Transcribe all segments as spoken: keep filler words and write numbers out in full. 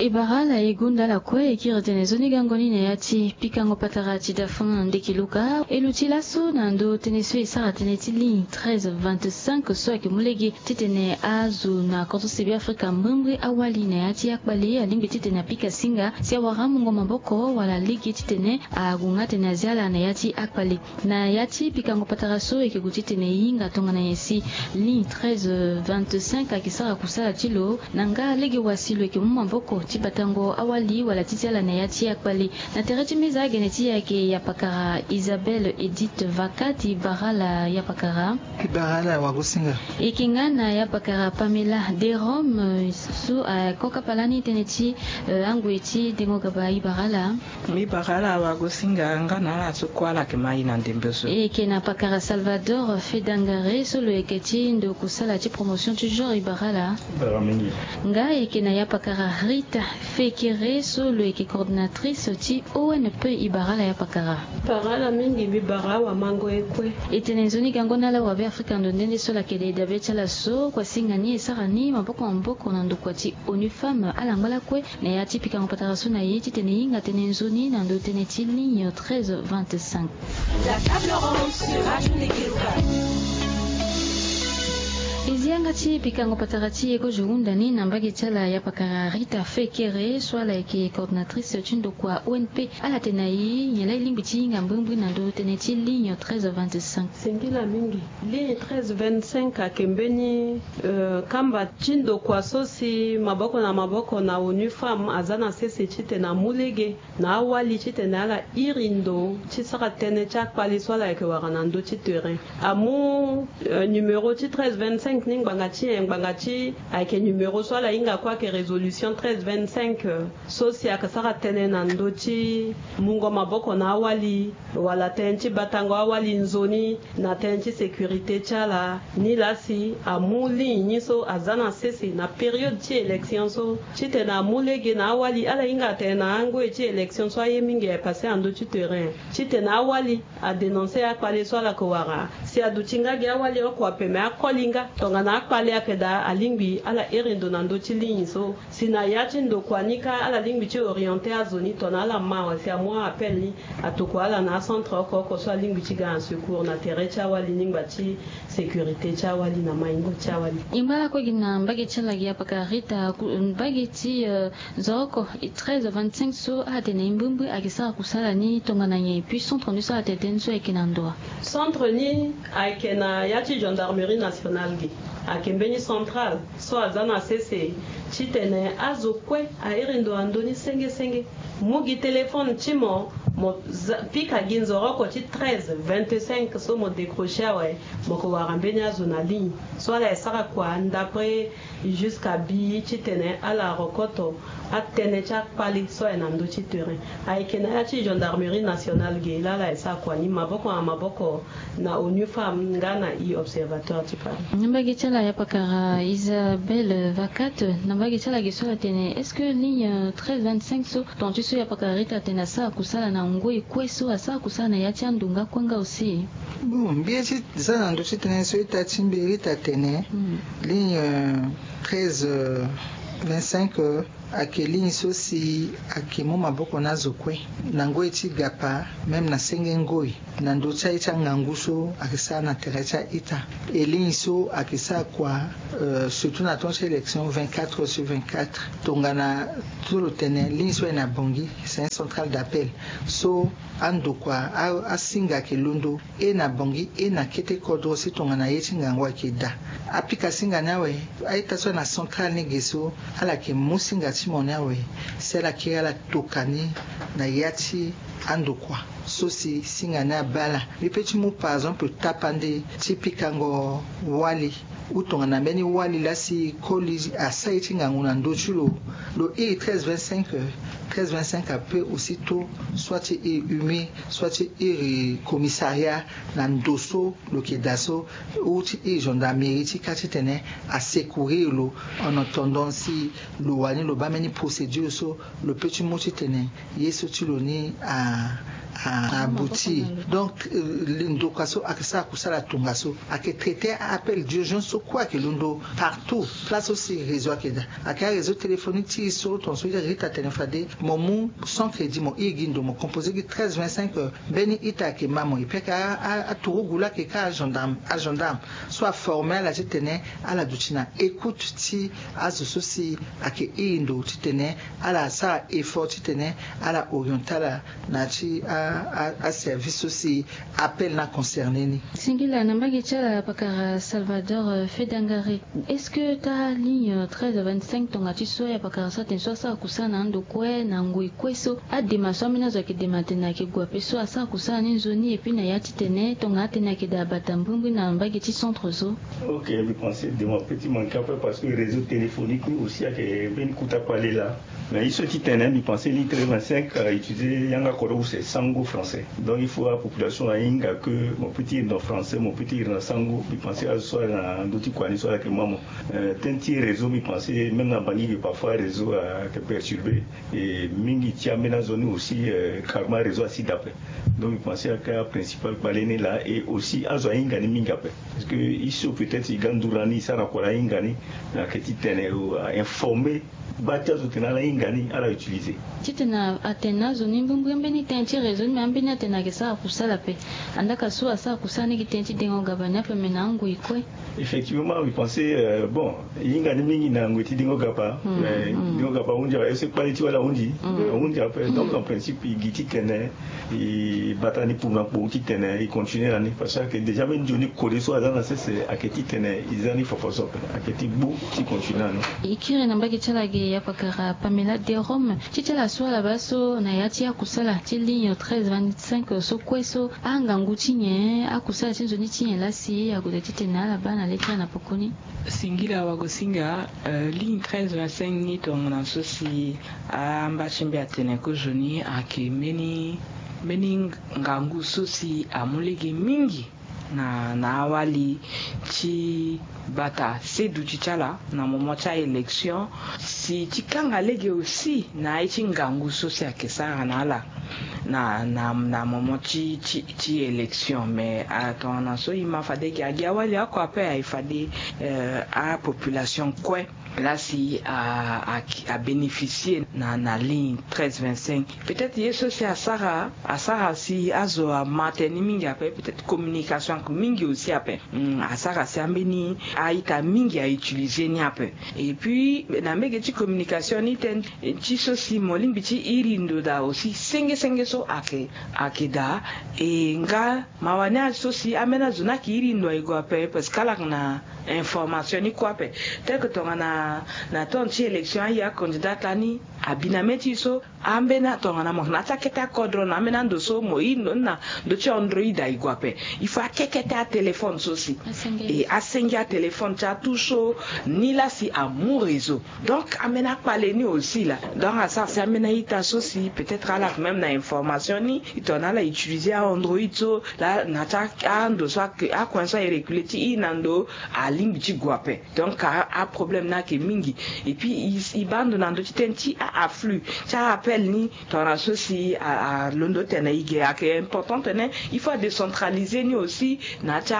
E bara ala e gonda ala kue e kiri tene nzoni gango ni na ya ti pikango patara ti dafan ndeki luka e luti laso na ndö tënë so e sara tënë ti ligne treize vingt-cinq so ayeke mu lege titene azo na kodro si be afrika mbrimbri awali na ya ti akpale alingbi titene apika singa si awara amungo maboko wala lege titene ague nga tene azia ala na ya ti akpale. Na ya ti pikango patara so e yeke gue titene e hinga tongana nyen si ligne treize vingt-cinq ayeke sara kusala ti lo na nga lege wa si lo yeke mu maboko ti batango awali wala ti ti ala na ya ti akpale. Na tere ti meza agene ti e ayeke yapakara Isabelle Edith Vakati bara ala yapakara. Bara ala wagosinga. E yeke nga na yapakara Pamela de Rome so akokapa lani tënë ti angoi ti dengo gaba e bara ala. Mbi bara ala wagosinga nga na ala so kue ala yeke ma e na ndembe so. E yeke na pakara Salvador Fedangare so lo yeke ti ndo kusala ti promotion toujours e bara ala. Bara mingi. Nga e yeke na yapakara Rita Fekere so lo yeke coordinatrice ti O N P e bara ala yapakara. Bara ala mingi mbi bara awamango e kue. E tene nzoni gango na ala wa be afrika ndo nde nde so ala yeke de dabe ti ala so kua singa ni e sara ni maboko maboko na ndokua ti onu femme ala ngba lakue. Na ya ti pikango patara so na ye titene e hinga tënë nzoni na ndö tënë ti ligne treize vingt-cinq. E zi yanga ti pikango patara ti e kozo hunda ni na mbage ti ala yapakara Rita Fekere so ala yeke coordinatrice ti ndokua O N P. Ala tene na e nyen laa e lingbi ti hinga mbrimbri na ndö tënë ti ligne treize vingt-cinq. Singila mingi. Ligne treize vingt-cinq ayeke mbeni kamba ti ndokua so si maboko na maboko na onu femme aza na sese titene amu lege na awali titene ala iri ndo ti sara tënë ti akpale so ala yeke wara na ndö ti terrain. Amu numero ti treize vingt-cinq ni ngbanga ti nyen? Ngbanga ti ayeke numero so ala hinga kue ayeke résolution treize vingt-cinq so si ayeke sara tënë na ndö ti mungo maboko na awali wala tënë ti batango awali nzoni na tënë ti sécurité ti ala. Ni laa si amu ligne ni so aza na sese na période ti élection so titene amu lege na awali ala hinga atene na angoi ti élection so aye mingi aye passé na ndö ti terrain titene awali adénoncer akpale so ala yeke wara si aduti nga gi awali oko ape me akoli nga tongana akpale ayeke daa alingbi ala iri ndo na ndö ti ligne so. Si na ya ti ndokua ni kâ ala lingbi ti orienter azo ni tongana ala ma awe si amu a-appel ni atokua ala na acentre oko oko so alingbi ti ga na secours na tere ti awali ni ngba ti sécurité ti awali na maingo ti awali. E ngba lakue gi na mbage ti ala gi apaka Rita mbage ti nzoroko treize vingt-cinq so atene e mbrimbri ayeke sara kusala ni tongana nyen et puis centre ni so atene tënë so ayeke na ndo wa? Centre ni ayeke na ya ti gendarmerie nationale gi. Ayeke mbeni centrale so aza na sese titene azo kue airi ndo na ndö ni senge senge. Mu gi téléphone ti mo mo pika gi nzoroko ti treize vingt-cinq so mo décrocher awe. Mo ko wara mbeni azo na ligne so ala ye sara kua ndapre jusqu'à bi titene ala rokoto atënë ti akpale so aye na ndö ti terrain. Ayeke na ya ti gendarmerie nationale ge laa ala ye sara kua ni maboko na maboko na onu femme nga na e observatoire ti Paris. Na mbage ti ala ya pakara Isabelle Vacat na mbage ti ala ge so ala tene est-ce que ligne treize vingt-cinq so ton ti so ya pakara Rita atene asara kusala na ngoi kue so asara kusala na ya ti ando nga kue nga aussi? Bon mbi ye ti za na ndö ti tënë so ita ti mbi Rita atene ligne treize vingt-cinq ayeke ligne so si ayeke mu maboko na azo kue na ngoi ti gapa même na senge ngoi na ndö ti aye ti angangu so ayeke sara na tere ti a-ita. E ligne so ayeke sara kua surtout na temps ti élection vingt-quatre sur vingt-quatre tongana so lo tene ligne so aye na bongi c'est un central d'appel so andokua asinga ayeke londo e na bongi e na kete kodro si tongana ye ti ngangu ayeke daa. Apika singa ni awe. A-ita so aye na central ni ge so ala yeke mu singa ti mo ni awe si ala kiri ala toka ni na ya ti andokua so si singa ni abaa ala. Mbi pe ti mu par exemple tapande ti pikango wali ou tongana mbeni wali laa si koli asara ye ti ngangu na ndö ti lo. Lo iri treize vingt-cinq treize vingt-cinq ape aussitôt soit ti iri humain soit ti iri commissariat na ndo so lo yeke daa so ou ti iri gendarmerie ti kâ titene asecourir lo en attendant si lo wani lo baa mbeni procédure so lo pe ti mu titene ye so ti lo ni a Abouti. Donc ndokua so ayeke sara kusala tongaso, ayeke traiter appel d'urgence so kue ayeke londo partout place so si réseau ayeke daa. Ayeke aréseau téléphonique ti e so tongaso ye rita atene fade mo mu sans crédit mo iri gi ndo mo composer gi treize vingt-cinq. Mbeni ita ayeke ma mo epui ayeke aturugu laa ayeke ka agendarme agendarme so aformer ala titene ala duti na écoute ti azo so si ayeke iri ndo titene ala sara effort titene ala orienter ala na ya ti aservice so si appel ni aconcerner ni. Singila na mbage ti ala pakara Salvador Fedangari. Est-ce que ta ligne treize vingt-cinq tonga ti so ya pakara so atene so asara kusala na ando kue na ngoi kue so adema so ambeni azo ayeke dema atene ayeke gue ape so asara kusala ni nzoni epui na ya titene tonga atene ayeke daa bata mbrimbri na mbage ti centre so? Ok, mbi pense dema ape ti manke ape parce que réseau téléphonique ni aussi ayeke mbeni kota kpale laa. Mais ye so titene mbi pense ligne treize vingt-cinq ayeke utiliser yanga kodro use sango français. Donc il faut apopulation ahinga que mo peut ti iri na français, mo peut ti iri na sango. Mbi pense azo so ala na ndö ti kua ni so ala yeke ma mo. Tënë ti réseau mbi pense même na bangi ge parfois réseau ayeke perturber. Et mingi ti ambeni azo ni aussi carrément réseau asi daa ape. Donc mbi pense ayeke aprincipal kpale ni laa. Et aussi azo ahinga ni mingi ape parce que ye so peut-être e ga nduru na ni e sara na kua laa ahinga ni. Ayeke titene ainformer baa ti azo tene ala hinga ni ala utiliser. Titene atene na azo ni mbrimbri mbeni tënë ti réseau ni me ambeni atene ayeke sara kusala ape. Andaka so asara kusala ni gi tënë ti dengo gaba ni ape me na angoi kue. Effectivement mbi pense bon e hinga ni mingi na ngoi ti dengo gaba. Mais dengo gaba ahunzi ape est-ce que kpale ti wali ahunzi? Ahunzi ape. Donc en principe e gi titene e bata ni pour na kpou titene e continuer na ni parce que déjà même nzoni kode so aza na sese ayeke titene e za ni fafa so ape ayeke ti gbu ti continuer na ni. E kiri na mbage ti ala ge ya pakara Pamela Derome ti ti ala so ala baa so na ya ti akusala ti ligne treize vingt-cinq so kue so angangu ti nyen akusala ti nzoni ti nyen laa si ague daa titene ala baa na le ti ala na poko ni? Singila wagosinga. Ligne treize vingt-cinq ni tongana so si amba ti mbi atene kozoni ayeke mbeni mbeni ngangu so si amu lege mingi na na awali ti bata seduti ti ala na moment ti aélection si ti kanga lege aussi na aye ti ngangu so si ayeke sara na ala na na na moment ti ti ti élection mais tongana so e ma fade gi agi awali oko ape aye fade apopulation kue laa si abénéficier na na ligne treize vingt-cinq. Peut-être ye so si asara asara si azo ama tënë ni mingi ape, peut-être communication mingi aussi ape. Asara si ambeni a-ita mingi autiliser ni ape. Et puis na mbege ti communication ni tënë ti so si mo lingbi ti iri ndo daa aussi senge senge so ayeke ayeke daa. E nga mawa ni aso si ambeni azo ni ayeke iri ndo aye gue ape parce que ala yeke na information ni kue ape. Tel que tongana na temps ti élection aye acandidat lani abi na mê ti e so ambeni atongana mo yeke na ya ti akete akodro na ambeni ando so mo iri ndo ni na ndö ti android aye gue ape. Il faut akekete atéléphone so si e asenge atéléphone ti atu so ni laa si amu réseau. Donc ambeni akpale ni aussi laa donc asara si ambeni a-ita so si peut-être ala yeke même na information ni e tongana ala utiliser aandroid so laa na ya ti ando so akoin so aye reculer ti iri na ndo alingbi ti gue ape. Donc aproblème ni ayeke mingi. Et puis e baa ndo na ndö ti tënë ti a-afflux ti a-appel ni tongana so si alondo tene e ge ayeke important tene il faut adécentraliser ni aussi na ya ti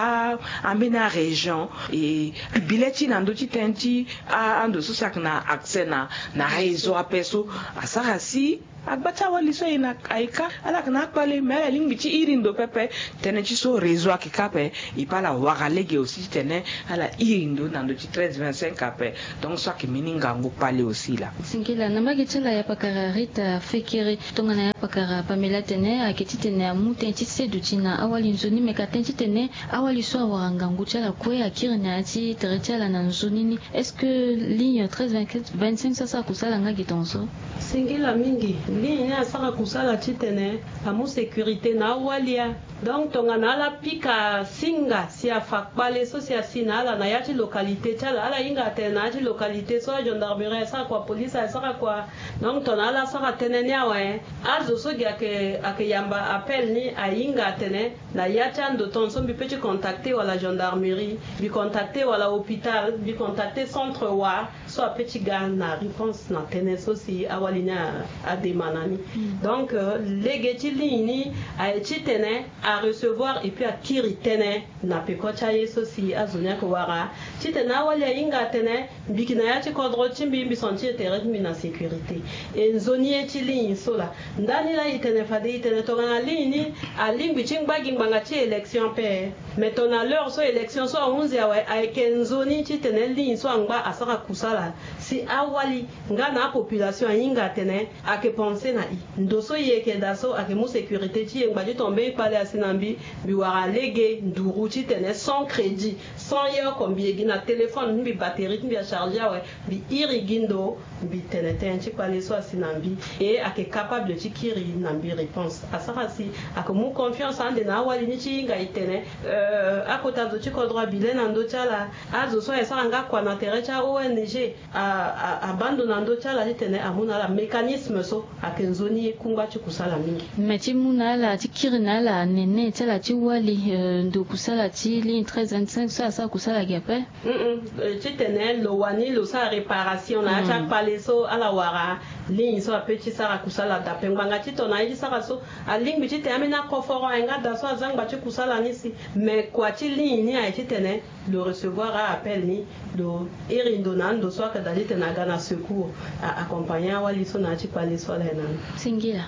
ambeni arégion. E bi le ti na ndö ti tënë ti ando so si ayeke na accès na na réseau ape so asara si agba ti awali so aye na aye kâ ala yeke na akpale me ala lingbi ti iri ndo pepe. Tënë ti so réseau ayeke kâ ape. E pe ala wara lege aussi titene ala iri ndo na ndö ti treize vingt-cinq ape. Donc so ayeke mbeni ngangu kpale aussi laa. Singila na mbage ti ala ya pakara Rita Fekere. Tongana ya pakara Pamela atene ayeke titene amu tënë ti seduti na awali nzoni me ka tënë titene awali so awara ngangu ti ala kue akiri na ya ti tere ti ala na nzoni ni. Est-ce que ligne treize vingt-cinq so asara kusala nga gi tongaso? Singila mingi. Ligne ni asara kusala titene amu sécurité na awali ya. Donc tongana ala pika singa si afa kpale so si asi na ala na ya ti localité ti ala, ala hinga atene na ya ti localité so agendarmerie asara kua, police asara kua. Donc tongana ala sara tënë ni awe, azo so gi ayeke, ayeke yamba appel ni ahinga atene na ya ti ando tongaso mbi pe ti contacter wala gendarmerie, mbi contacter wala hôpital, mbi contacter centre wa so ape ti ga na réponse na tënë so si awali ni a, ademande na ni. Donc euh, lege ti ligne ni aye titene arecevoir et puis akiri tënë na peko ti aye so si azo ni ayeke wara, titene awali ahinga atene mbi yeke na ya ti kodro ti mbi, mbi sentir tere ti mbi na sécurité. E nzoni ye ti ligne so laa. Ndani laa e tene fade e tene tongana ligne ni alingbi ti ngba gi ngbanga ti élection ape. Mais tongana l'heure so élection so ahunzi awe, ayeke nzoni titene ligne so angba asara kusala si awali nga na apopulation ahinga atene ayeke pense na e. Ndo so e yeke daa so ayeke mu sécurité ti e, ngba ti tongana mbeni kpale asi na mbi, mbi wara lege nduru titene sans crédit, sans ye oko, mbi ye gi na téléphone ti mbi, batterie ti mbi acharger awe, mbi iri gi ndo, mbi tene tënë ti kpale so asi na mbi. E ayeke capable ti kiri na mbi réponse. Asara si ayeke mu confiance ande na awali ni ti hinga e tene, euh, akota zo ti kodro abi le na ndö ti ala. Azo so aye sara nga kua na tere ti a-O N G, a, a, abaa ndo na ndö ti ala titene amu na ala mécanisme so ayeke nzoni kungba ti kusala mingi. Me ti mu na ala, ti kiri na ala nene ti ala ti wali, euh, ndo kusala ti ligne treize vingt-cinq so asara kusala gi ape. Mm-mm. Euh, titene lo wani lo sara réparation na ya ti akpale so ala wara ligne so ape ti sara kusala daa ape. Ngbanga ti tongana aye ti sara so, alingbi titene ambeni akoforo aye nga daa so aza ngba ti kusala ni si. Me kua ti ligne ni aye titene lo recevoir a-appel ni, lo iri ndo na ando so ayeke daa titene aga na secours, a accompagner awali so na ya ti kpale so ala ye na ni. Singila.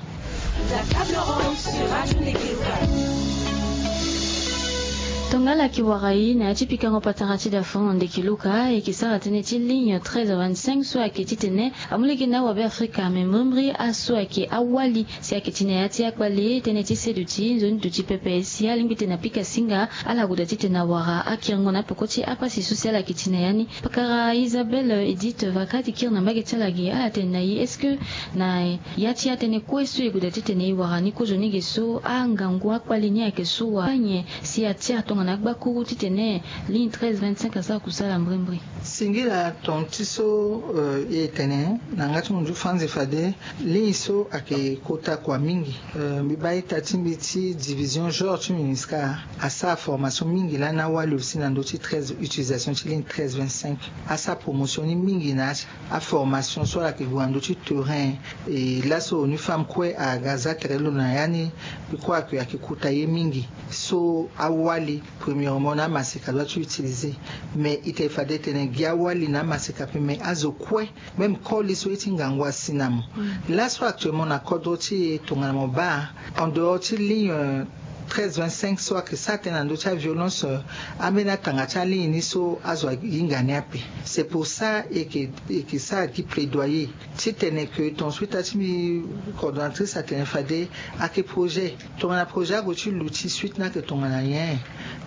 Tongana ala yeke wara e na ya ti pikango patara ti dafon na ndeke luka, e yeke sara tënë ti ligne treize vingt-cinq so ayeke titene amu lege na awabe Afrika, me mbrimbri aso ayeke awali si ayeke ti na ya ti akpale, tënë ti seduti nzoni duti pepe si alingbi titene apika singa. Ala goda titene awara akiringo na apeko ti apasi so si ala yeke ti na ya ni. Pakara Isabelle Edith Vaka ti kiri na mbage ti ala ge, ala tene na e, est-ce que na ya ti atënë kue so e goda titene e wara ni kozoni ge so, angangu akpale ni ayeke so wa nyen si atia tongana agbakuru titene ligne treize vingt-cinq asara kusala mbrimbri? Singila. Ton ti so, euh, e tene na yanga ti munzu fanzi fade ligne so ayeke kota kua mingi. Euh, mbi baa ita ti mbi ti division genre ti MINUSCA asara formation mingi lani awali aussi na ndö ti treize, utilisation ti ligne treize vingt-cinq. Asara promotion ni mingi na aformation so ala yeke gue na ndö ti terrain. E laso ni femme kue aga za tere lo na ya ni. Mbi kue ayeke, ayeke kota ye mingi. So awali, premièrement, na amaseka doit ti utiliser. Mais e tene fade e tene gi awali na amaseka ape, mais azo kue, même koli so ye ti ngangu asi na mo. Laso actuellement na kodro ti e tongana mo baa, en dehors ti ligne, euh, treize vingt-cinq so ayeke sara tënë na ndö ti aviolence, euh, ambeni atanga ti aligne ni so azo ahinga ni ape. C'est pour ça e yeke, e yeke sara gi plaidoyer titene que ton suite ti mbi coordonnatrice atene fade ayeke projet. Tongana projet ague ti luti suite ni ayeke tongana nyen?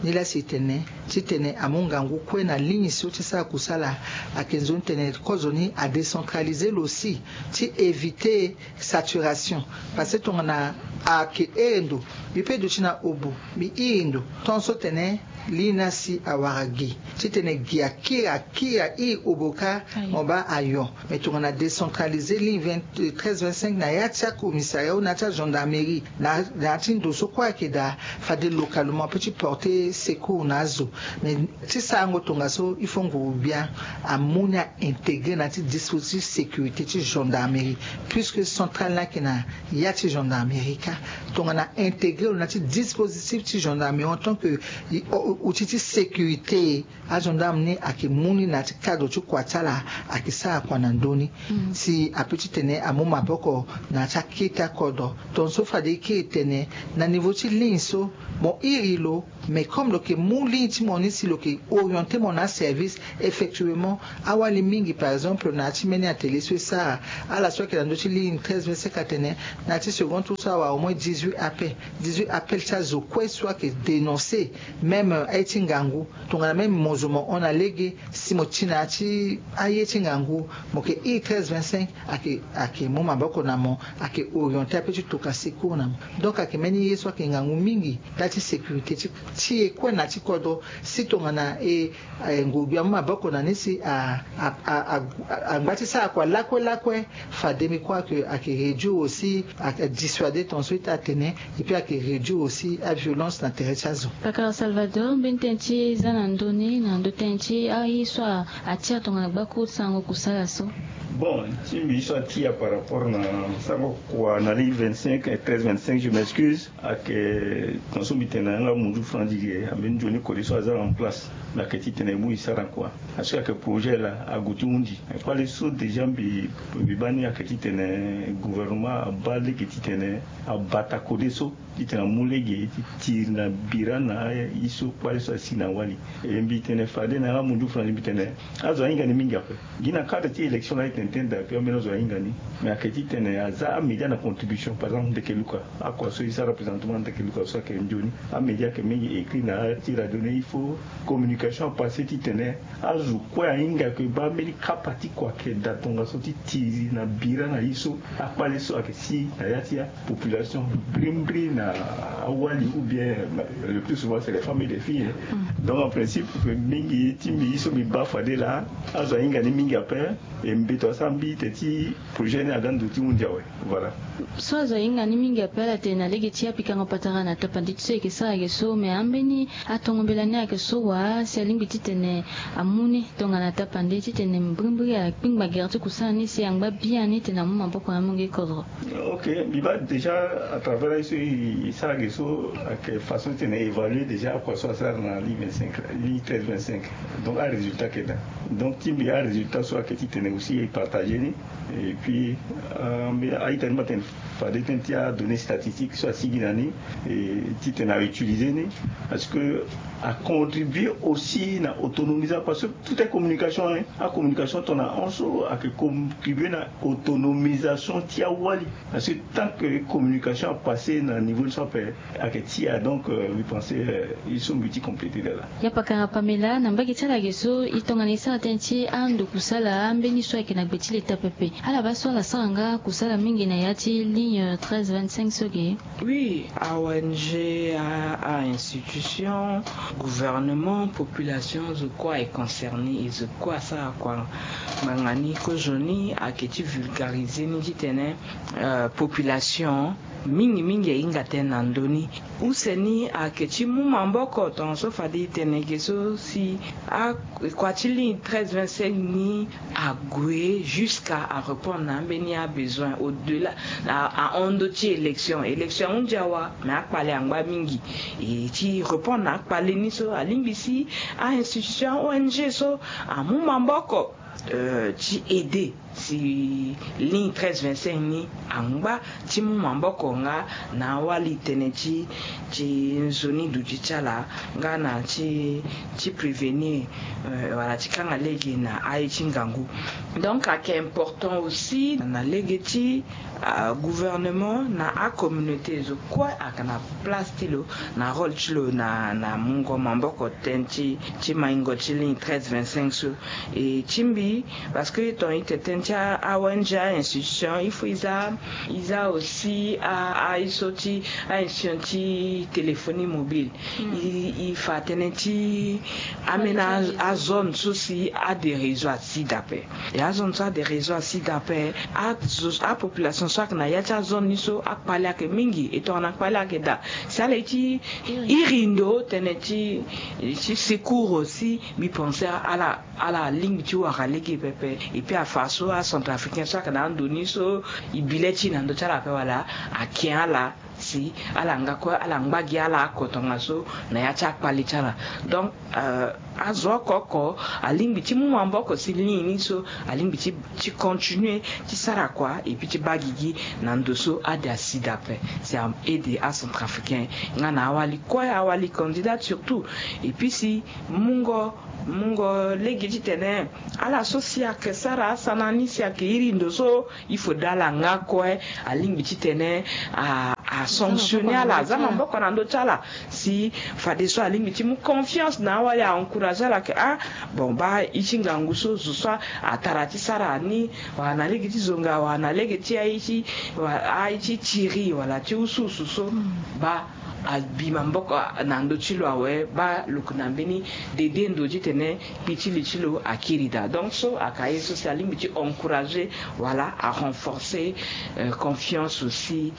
Nilaa si e tene titene amu ngangu kue na ligne so ti sara kusala. Ayeke nzoni tene kozoni adécentraliser lo aussi ti éviter saturation. Parce que tongana ayeke iri ndo, mbi pe duti na obo, mbi iri ndo, tongaso tene ligne ni asi awara gi. Titene gi akiri, akiri, a iri obo kâ, mo baa ayo. Mais tongana décentraliser ligne vingt, treize vingt-cinq na ya ti acommissariat ou na ya ti agendarmerie, na, na ya ti ndo so kue ayeke daa, fade localement ape ti porter secours na azo. Mais ti sarango tongaso, il faut nguru gbia amu ni a intégrer na ya ti dispositif sécurité ti gendarmerie, puisque centrale ni ayeke na ya ti gendarmerie kâ. Tongana intégrer lo na ya ti dispositif ti gendarmerie en tant que, i, o, outil ti sécurité, agendarme ni ayeke mu ni na ya ti cadre ti kua ti ala, ayeke sara kua na ndö ni. Si ape titene amu maboko na ya ti akete akodro. Tongaso fade e kiri tene na niveau ti ligne so, mo iri lo, mais comme lo yeke mu ligne ti mo ni si lo yeke orienter mo na aservice, effectivement, awali mingi, par exemple, na ya ti mbeni atelier so e sara, ala so ayeke na ndö ti ligne treize vingt-cinq atene, na ya ti second tour so awara au moins dix-huit appels, dix-huit appels ti azo kue so ayeke dénoncer même, euh, aye ti ngangu, tongana même mo zo mo hon na lege, si mo ti na ya ti aye ti ngangu, mo yeke iri treize vingt-cinq, ayeke ayeke mu maboko na mo, ayeke orienté ape ti tokua secours na mo. Donc ayeke mbeni ye so ayeke ngangu mingi ndali ti sécurité ti ti e kue na ti kodro. Si tongana e, e, nguru-gbia amu maboko na ni si a, a, a, a, angba ti sara kua lakue lakue, fade mbi croire que ayeke réduire aussi, ayeke dissuader ton so ita atene, et puis ayeke réduire aussi aviolence na tere ti azo. Pakara Salvador, mbeni tënë ti e za na ndö ni na ndö tënë ti aye so a, atia tongana gbaku sango kusala so? Bon, ti mbi so atia par rapport na sango kua na li vingt-cinq, treize vingt-cinq, je m'excuse. Ayeke ton so mbi tene na yanga munzu franc gi ge, ambeni nzoni kode so aza en place. Mais ayeke titene e mu e sara kua. Parce que ayeke projet laa ague ti hundi. Kpale so déjà mbi, mbi baa ni ayeke titene gouvernement abaa lege titene abata kode so, titene amu lege ti tiri na bira na aye so kpale so asi na wali. E mbi tene fade na yanga munzu franc gi mbi tene azo ahinga ni mingi ape. Gi na cadre ti élection laa e tene tene daa, puis ambeni azo ahinga ni. Mais ayeke titene aza amédia na contribution, par exemple ndeke luka, akua so e sara présentement ndeke luka so ayeke nzoni. Amédia ayeke mingi écrit na ya ti radio ni, il faut communication apassé titene azo kue ahinga ayeke baa mbeni kapa ti kua ayeke daa tongaso ti tiri na bira na ye so akpale so ayeke si na ya ti a population, mbrimbri na awali ou bien, euh, le plus souvent c'est les femmes et les filles, hein. Donc en principe mingi ti mbi ye so mbi baa fade laa, azo ahinga ni mingi ape. E mbeto asara mbi tene ti projet ni aga ndo ti hundi awe. Voilà. So azo ahinga ni mingi ape ala tene na lege ti apikango patara na tapande ti so e yeke sara ayeke so, mais ambeni atongo mbela ni ayeke so wa si alingbi titene amu ni tongana tapande titene mbrimbri akpingba gere ti kusala ni si angba biani titene amu maboko na amungo kodro. Ok, mbi baa déjà à travers aye so e sara ge so ayeke façon titene évaluer déjà akua so asara na li vingt-cinq, li treize vingt-cinq. Donc arésultat ayeke daa. Donc ti mbi arésultat so ayeke titene aussi e partager ni. Et puis, euh, mbi a-ita ni mbi atene fade tënë ti adonnée statistique so asigi na ni, e titene a utiliser ni, parce que a contribuer aussi na autonomisation, parce que tout est communication, hein. Acommunication tongana hon so ayeke contribuer na autonomisation ti awali. Parce que tant que communication apassé na niveau ni so ape, ayeke ti ya, donc, euh, mbi pensé, euh, il so mbi ti compléter de là. Ya pakara Pamela, na mbage ti ala ge so e tongana e sara tënë ti ando kusala ambeni so ayeke na gbe ti leta pepe, ala baa so ala sara nga kusala mingi na ya ti ligne treize vingt-cinq so ge? Oui, a O N G, a, a institution, gouvernement, population, zo kue aye concerné, e zo kue asara kua ngbanga ni. Kozoni ayeke ti vulgariser ni titene, euh, population mingi mingi ahinga tënë na ndö ni. Use ni ayeke ti mu maboko tongaso fade e tene ge so si akua ti ligne treize vingt-cinq ni ague jusqu'à a répondre na ambeni abesoin au delà, a, ahon ndö ti élection. Élection ahunzi awa, mais akpale angba mingi. E ti répondre na akpale ni so alingbi si a institution, O N G so amu maboko, euh, ti aider si ligne treize vingt-cinq ni angba ti mu maboko nga na awali tënë ti, ti nzoni duti ti ala, nga na ti, ti prévenir, euh, wala ti kanga lege na aye ti ngangu. Donc ayeke important aussi na lege ti, euh, gouvernement na acommunauté, zo kue ayeke na place ti lo, na rôle ti lo na, na mungo maboko tënë ti, ti maingo ti ligne treize vingt-cinq so. E ti mbi, parce que ton ite tënë ti a, a O N G, a institution, il faut e za, e za aussi a, a, e so ti a institution ti téléphonie mobile. Hmm. E, e fa tënë ti amena a, a zone so si a de réseau asi daa ape. E a zone so a de réseau asi daa ape, a zo, a population so ayeke na ya ti a zone ni so akpale ayeke mingi, e tongana akpale ayeke daa, si ala ye ti iri ndo tënë ti, ti secours aussi, mbi pensé ala, ala lingbi ti wara lege pepe. Et puis afa so acentrafricain so ayeke na ando ni so e bi le ti e na ndö ti ala ape wala, ake ala si ala nga kue ala ngba gi ala oko tongaso na ya ti akpale ti ala. Donc, euh, azo oko oko alingbi ti mu maboko si ligne ni so alingbi ti, ti continuer ti sara kua, et puis ti baa gigi na ndo so ade asi daa ape. Si a aider acentrafricain nga na awali kue, awali candidat surtout. Et puis si mungo, mungo lege titene ala so si ayeke sara asana ni si ayeke iri ndo so, il faut daa ala nga kue alingbi titene a, a asanctionner ala, aza maboko na ndö ti ala. Si fadeso alingbi ti mu confiance na awali, a encourager ala ke, ah, bon, baa, ye ti ngangu so zo so atara ti sara ni, wala na lege ti zonga, wala na lege ti aye ti, wala aye ti tiri, wala ti usuusu so, baa, abi maboko na ndö ti lo awe, baa, lo yeke na mbeni dede ndo titene kpi ti li ti lo akiri daa. Donc so ayeke aye so si alingbi ti encourager wala a renforcer, euh, confiance aussi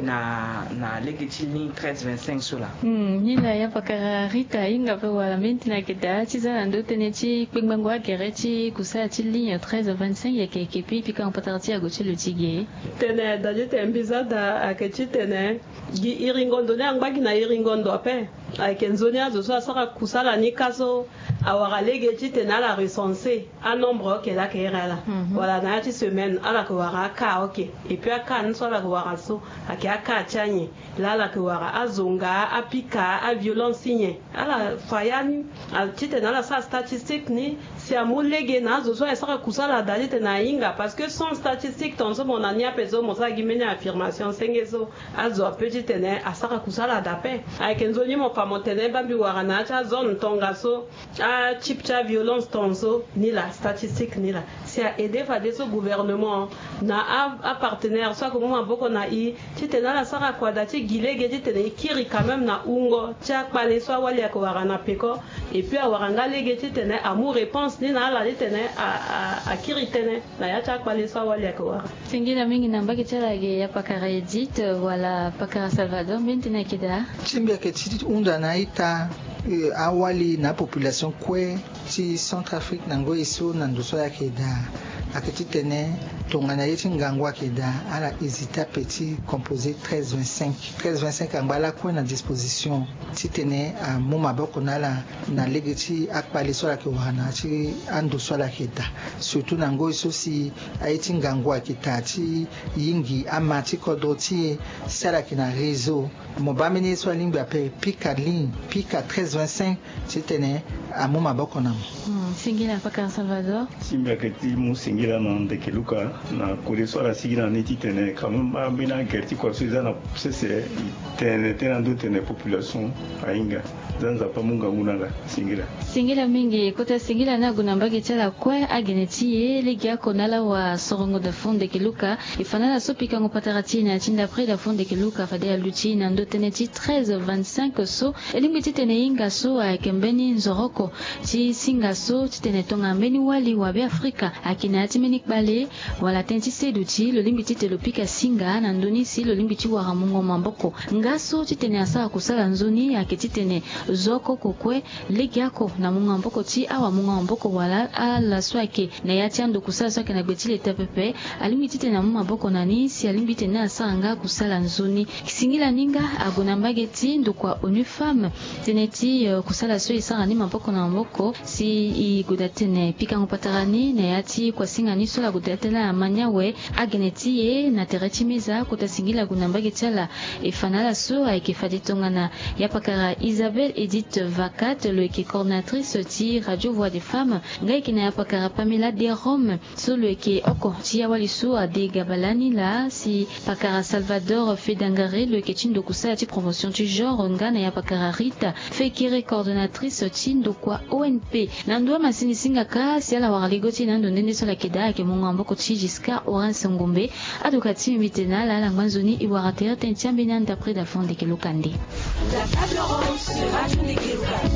na, na lege ti ligne treize vingt-cinq so laa. Hmm, ni laa ya pakara Rita ahinga ape wala mbeni tënë ayeke daa ti za na ndö tënë ti kpengbango agere ti kusala ti ligne treize vingt-cinq, yeke, yeke pika, pikango patara ti ague ti lo ti ge. Tene daa ti tene mbi za daa ayeke titene gi iringo ndo ni angba gi na iringo ndo ape. Ayeke nzoni azo so asara kusala ni ka so awara lege titene ala recenser anombre, ok, laa ayeke iri ala. Mhm. Wala na ya ti semaine ala yeke wara akaa, ok. Et puis akaa ni so ala yeke wara so ayeke akaa ti anyen? Laa ala yeke wara azonga, apika, aviolence ti nyen? Ala fa ya ni, a, titene ala sara statistique ni, si amu lege na azo so ayeke sara kusala daa titene ahinga. Parce que sans statistique, tongaso mo na ni ape so mo sara gi mbeni affirmation senge so, azo ape titene asara kusala daa ape. Ayeke nzoni mo fa mo tene baa mbi wara na ya ti azone tongaso, atype ti aviolence tongaso, ni laa, statistique ni laa. Si a aider fadeso gouvernement na a, apartenaire so ayeke mu maboko na e titene ala sara kua daa ti gi lege titene e kiri quand même na wungo ti akpale so awali ayeke wara na peko. Et puis awara nga lege titene amu réponse ni na ala titene a, a, akiri tënë na ya ti akpale so awali ayeke wara. Singila mingi na mbage ti ala ge, ya pakara Edith wala pakara Salvador, mbeni tënë ayeke daa? Ti mbi ayeke ti hunda na a-ita, eh, awali na apopulation kue ti Centrafrique na ngoi so na ndo so ayeke daa. Ayeke titene tongana ye ti ngangu ayeke daa, ala hésiter ape ti composer treize vingt-cinq. Treize vingt-cinq angba lakue na disposition titene amu maboko na ala na lege ti akpale so ala yeke wara na ya ti ando so ala yeke daa. Surtout na ngoi so si aye ti ngangu ayeke taa ti yingi ama ti kodro ti e, si ala yeke na réseau, mo baa mbeni ye so alingbi ape, pika ligne, pika treize vingt-cinq titene amu maboko na mo. Hmm, singila pakara Salvador. Ti mbi ayeke ti mu singila na ndeke Luka na kode so ala sigi na ni titene quand même ambeni agere ti kua so e za na sese, e tene tënë na ndö tene population ahinga. Za Nzapa amu ngangu na ala. Singila. Singila mingi. Kota singila ni ague na mbage ti ala kue, agene ti e legeoko na ala wa sorongo da fo ndeke Luka. E fa na ala so pikango patara ti e na ya ti ndapre da fo ndeke Luka, fade aluti e na ndö tënë ti treize vingt-cinq so. E lingbi titene e hinga so ayeke mbeni nzoroko ti singa so titene tongana mbeni wali wa Beafrika ayeke na ya ti mbeni kpale wala tënë ti seduti, lo lingbi titene lo pika singa na ndö ni si lo lingbi ti wara mungo maboko. Nga so titene asara kusala nzoni ayeke titene zo oko oko kue legeoko na mungo maboko ti awamungo maboko wala ala so ayeke na ya ti ando kusala so ayeke na gbe ti leta pepe, alingbi titene amu maboko na ni si alingbi titene asara nga kusala nzoni. Singila ni nga ague na mbage ti ndokua ONU Femmes, tënë ti, eh, kusala so e sara ni maboko na maboko si e gue daa tene pikango patara ni na ya ti kuasinga ni so ala gue daa tënë na ama ni awe. Agene ti e na tere ti meza, kota singila ague na mbage ti ala. E fa na ala so ayeke fade tongana ya pakara Isabelle Edith Vacat, lo yeke coordonnatrice ti Radio Voix des Femmes, nga yeke na ya pakara Pamela Derome, so lo yeke oko ti awali so ade gabala ni laa, si pakara Salvador Fedangare, lo yeke ti ndo kusala ti promotion ti genre, nga na ya pakara Rita Fekere, coordonnatrice ti ndokua O N P. Na ndo amasini singa kâ si ala wara lego ti e na ando nde nde so ala yeke daa, ayeke mungo maboko ti Giscard Horace Ngombe. Adoka ti mbi tene na ala, ala ngba nzoni e wara tere tënë ti ambeni anda près da fond ndeke Luka nde. La table ronde sur Radio Ndeke Luka.